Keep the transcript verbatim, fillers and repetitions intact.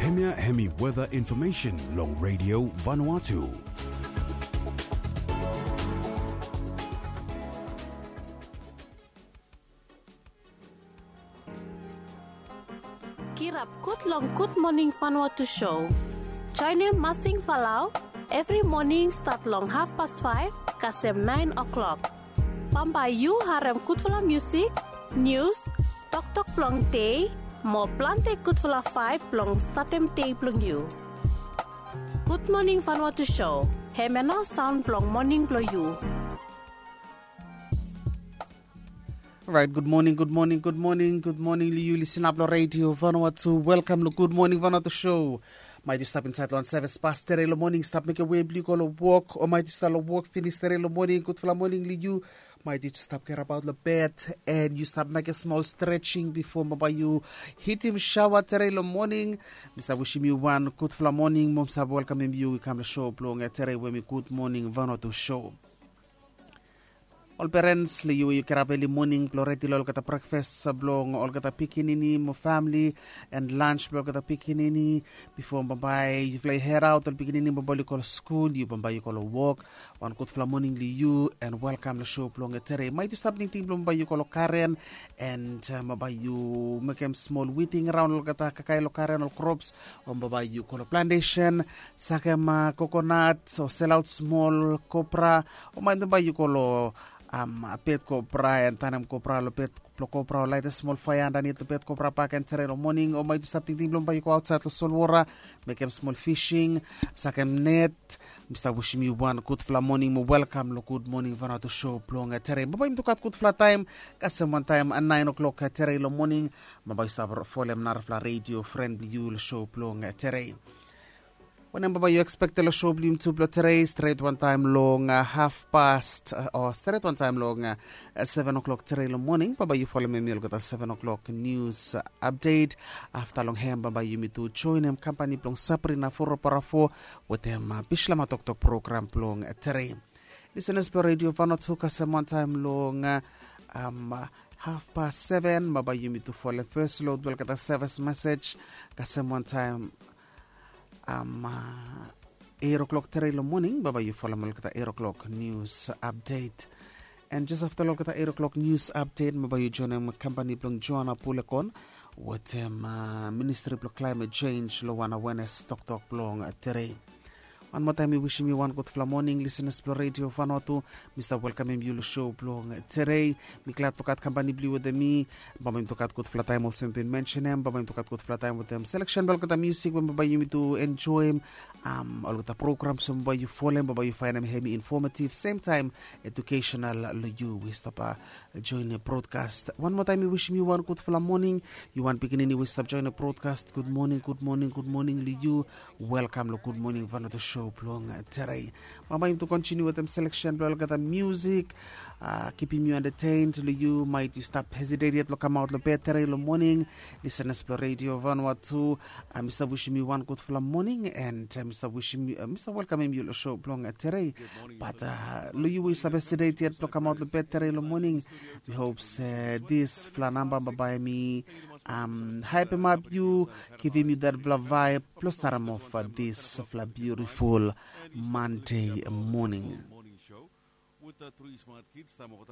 Hemia hemi weather information long Radio Vanuatu. Kirap gud long Gud Moning Vanuatu show. Joinem Masing Falau evri moning stat long hafpas faef kasem naen o'klok. Bambae yu harem gudfala musik, nius, toktok blong dei, mo plante gudfala vaeb blong statem dei blong yu. Gud Moning Vanuatu show, hemia nao saon blong moning blong yu. Orait, gud moning, gud moning, gud moning, gud moning long yu lisinap long Radio Vanuatu. Welkam long Gud Moning Vanuatu show. Maet yu stap insaed long seves pas tere long moning, stap mekem wei blong yu go long wok, o maet yu stap long wok finis tere long moning, gudfala moning long yu. Maet yu stap kerabaot long bed, en yu stap mekem smol stretsing bifo bambae yu hitim saoa tere long moning. Mi stap wisim yu wan gudfala moning, mo mi stap welkamem yu i kam long show blong tere we hemi Gud Moning Vanuatu show. Ol perens long yu we yu kirap eli moning blong redi long olgeta brekfas blong olgeta pikinini mo famili, en lans blong olgeta pikinini. Bifo bambae yufala i hedaot ol pikinini bambae oli go long skul, yu bambae yu go long wok. Wan gudfala moning long yu, en welkam long show blong tere. Maet yu stap tingting blong bambae yu go long garen, en bambae yu mekem smol witing raon olgeta kakae long garen, ol krops, o bambae yu go long plantesen, sakem kokonat, o selaot smol kopra, o maet bambae yu go long bed kopra, en tanem kopra long bed blong kopra, o laetem smol faea andanit long bed kopra bak, en tere long moning, o maet yu stap tingting blong bambae yu go aotsaed long solwora, mekem smol fising, sakem net. Mi stap wisim yu wan gudfala moning mo welkam long Gud Moning Vanuatu show blong tere. Bambae yumi tu gat gudfala taem, kasem wantaem naen o'klok tere long moning. Bambae yu stap folem narafala redio fren blong yu long show blong tere. Wanem bambae yu ekspektem long show blong yumi tu blong tere, stret wantaem long hafpas, o stret wantaem long seven o'clock tere long moning, bambae yu folem hemi olgeta seven o'clock nius apdet. Afta long hem bambae yumi tu joenem kampani blong Sabrina Foroparafo wetem Bislama Toktok program blong tere. Lisenas blong Radio Vanuatu, kasem wantaem long hafpas seven bambae yumi tu folem fes lod blong olgeta seves mesej, kasem wantaem eit o'klok tere long moning, bambae yu folem olgeta eit o'klok nius apdet. En jes afta long olgeta eit o'klok nius apdet bambae yu joenem kampani blong Joana Pulekon wetem Ministri blong Klaemet Jenj long wan awenes toktok blong tere. Wan moa taem mi wisim yu wan gudfala moning, lisenas blong Radio Vanuatu. Mi stap welkamem yu long show blong tere. Mi glad tu gat kampani blong yu wetem mi. Bambae yumi tu gat gudfala taem olsem mi bin mensenem, bambae yumi tu gat gudfala taem wetem seleksen blong olgeta musik we bambae yumi tu enjoem. Olgeta programs we bambae yu folem, bambae yu faenem hemi informativ, semtaem edukesenal long yu we stap joenem brodkas. Wan moa taem mi wisim yu wan gudfala moning. Yu wan pikinini we stap joenem brodkas, gud moning, gud moning, gud moning long yu. Welkam long Gud Moning Vanuatu show blong tere. Bambae yumi tu kontiniu wetem seleksen blong olgeta musik, kipim yu entetened long yu maet yu stap hesitet yet blong kamaot long bed tere long moning. Lisenas blong Radio Vanuatu, mi stap wisim yu wan gudfala moning, en mi stap wisim, mi stap welkamem yu long show blong tere. Bat long yu we yu stap hesitet yet blong kamaot long bed tere long moning, mi hop se disfala namba bambae hemi haepemap yu, givim yu datfala vaeb blong starem of disfala biutiful Mande moning. With the three smart kids, taem olgeta